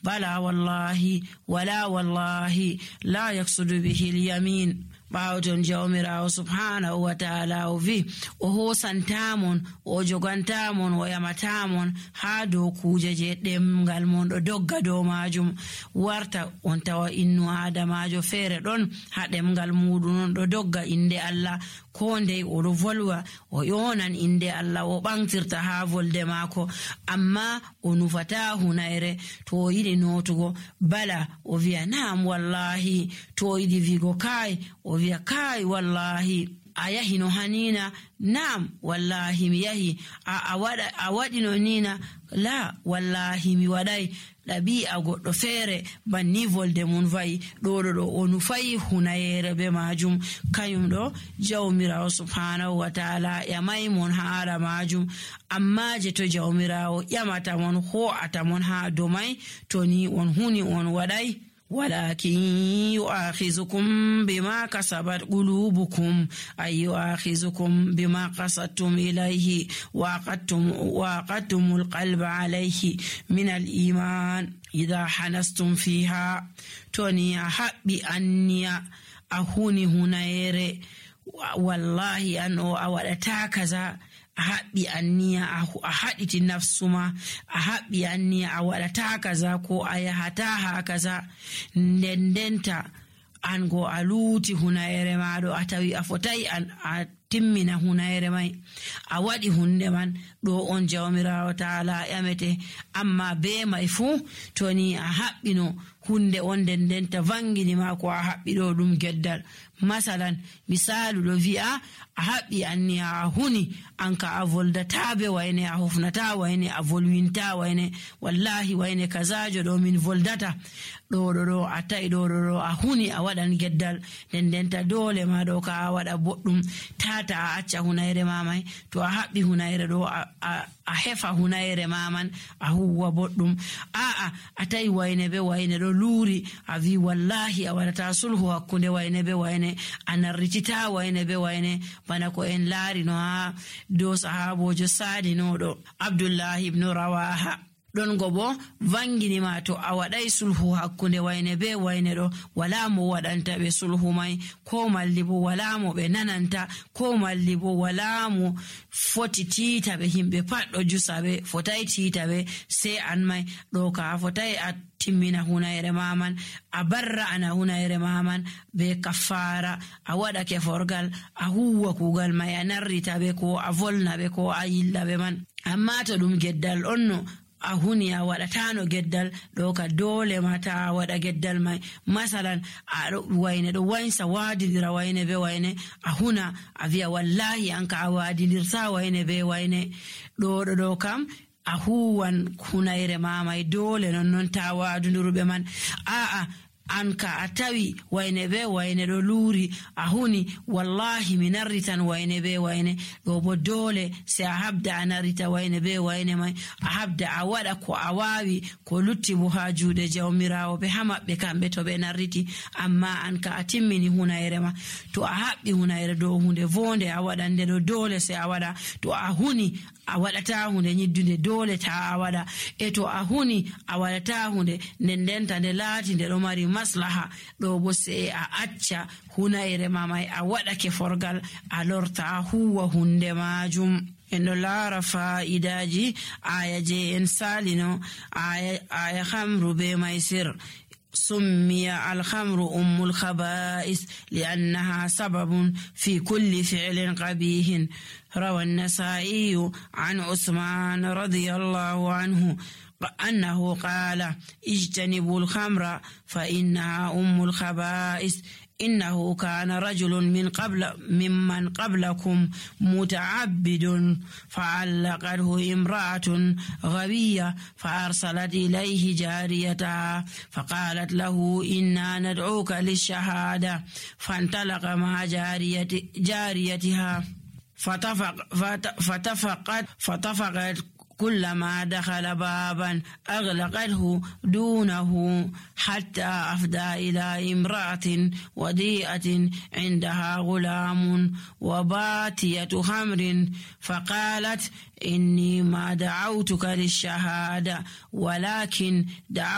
bala wallahi wala wallahi la yaksudu bihi al-yamin. ɓawton jawmirawo subhanahu wa ta'ala o wi o hosantamon o jogantamon o yamatamon ha dow kuje je ɗemgal mon ɗo dogga dow majum. warta on tawa innu adamajo feere ɗon ha ɗemgal muɗum on ɗo dogga inde Allah, ko ndey oɗo volwa o yonan inde Allah o ɓamtirta ha volde maako, amma o nufata hunayre. to o yiɗi notugo bala o wiya na'am wallahi, to o yiɗi wigo kai o wiya kai wallahi. a yahi no hanina? na'am wallahi mi yahi. a waɗi no nina? la wallahi mi waɗai. ɗabi'a goɗɗo feere banni volde mum vayi ɗo o nufayi hunayere be majum. kayum ɗo jawmirawo subhanahu wa ta'ala yamai mon haala majum, amma je to jawmirawo ƴamata mon ho'ata mon ha domai to ni on huni on waɗai. walakin yu'akhizukum bima kasabat qulubukum ay yu'akhizukum bima qasadtum ilayhi wa aqadtumul qalba alayhi min al-iman idha hanastum fiha. toni a haɓɓi anniya a huni hunayere wallahi an o a waɗata kaza, a haɓɓi anniya a haɗiti nafsuma, a haɓɓi anniya a waɗata kaza ko a yahata ha kaza, ndendenta an go a luuti hunayere maɗo a tawi a fotai a timmina hunayere mai, a waɗi hunde man. ɗo on jawmirawo ta'ala yamete. amma be mai fu toni a haɓɓino hunde on ndendenta vangini ma ko a haɓɓi ɗo ɗum geddal. masalan misalu ɗo wi'a a haɓɓi anniya a huni an ka a voldata be wayne, a hofnata wayne, a volwinta wayne, wallahi wayne kazajo ɗo min voldata ɗo a ta'i ɗo a huni a waɗan geddal, ndendenta dole ma ɗo ka a waɗa boɗɗum tata a acca hunayre mamai. to a haɓɓi hunayre ɗo a hefa hunayre maman a huwa boɗɗum. a ta'i wayne be wayne ɗo luuri, a wi wallahi a waɗata sulhu hakkunde wayne be wayne, a narritita wayne be wayne, bana ko en laari no ha dow sahabojo sadinoɗo Abdullahi ibn Rawaha. ɗon go bo vangini ma to a waɗai sulhu hakkunde wayne be wayne ɗo wala mo waɗanta ɓe sulhu mai, ko malli bo wala mo ɓe nananta, ko malli bo wala mo foti tiita ɓe. himɓe pat ɗo jusa ɓe, fotai tiita ɓe sai an mai. ɗo ka fotai a timmina hunayre maman, a barra ana hunayre maman be kaffara, a waɗa keforgal, a huwa kugal mai, a narrita ɓe ko a volna ɓe ko a yilla ɓe man. amma to ɗum geddal on no a huni a waɗatano geddal ɗo ka dole mata a waɗa geddal mai. masalan wayne ɗo wansa wadidira wayne be wayne, a huna a wiya wallahi an ka a wadidirta wayne be wayne. ɗo kam a huwan hunayre mamai dole non ta wadunduruɓe man. an ka a tawi wayne be wayne ɗo luuri, a huni wallahi mi narritan wayne be wayne, ɗo bo dole se a habda a narrita wayne be wayne mai, a habda a waɗa ko a wawi, ko lutti bo ha juuɗe jawmirawo ɓe ha maɓɓe kamɓe to ɓe narriti. amma an ka a timmini hunayre ma, to a haɓɓi hunayre dow hunde vonde a waɗande ɗo dole se a waɗa. to a huni a waɗata hunde nyiddunde dole ta a waɗa. to a huni a waɗata hunde ndendenta nde laati nde ɗo mari maslaha, ɗo bo sai a acca hunayre mamai a waɗake forgal a lorta a huwa hunde majum. en ɗo laara fa'idaji aya je en salino, aya hamru be maisir. سمي الخمر أم الخبائث لأنها سبب في كل فعل قبيح. روى النسائي عن عثمان رضي الله عنه أنه قال اجتنبوا الخمر فإنها أم الخبائث. إنه كان رجل ممن قبلكم متعبد فعلقته امرأة غبية فأرسلت إليه جاريتها فقالت له إنا ندعوك للشهادة. فانطلق مع جاريتها فتفقت كلما دخل بابا أغلقته دونه حتى أفدى إلى امرأة وديئة عندها غلام وباتية خمر فقالت إني ما دعوتك للشهادة ولكن دعوت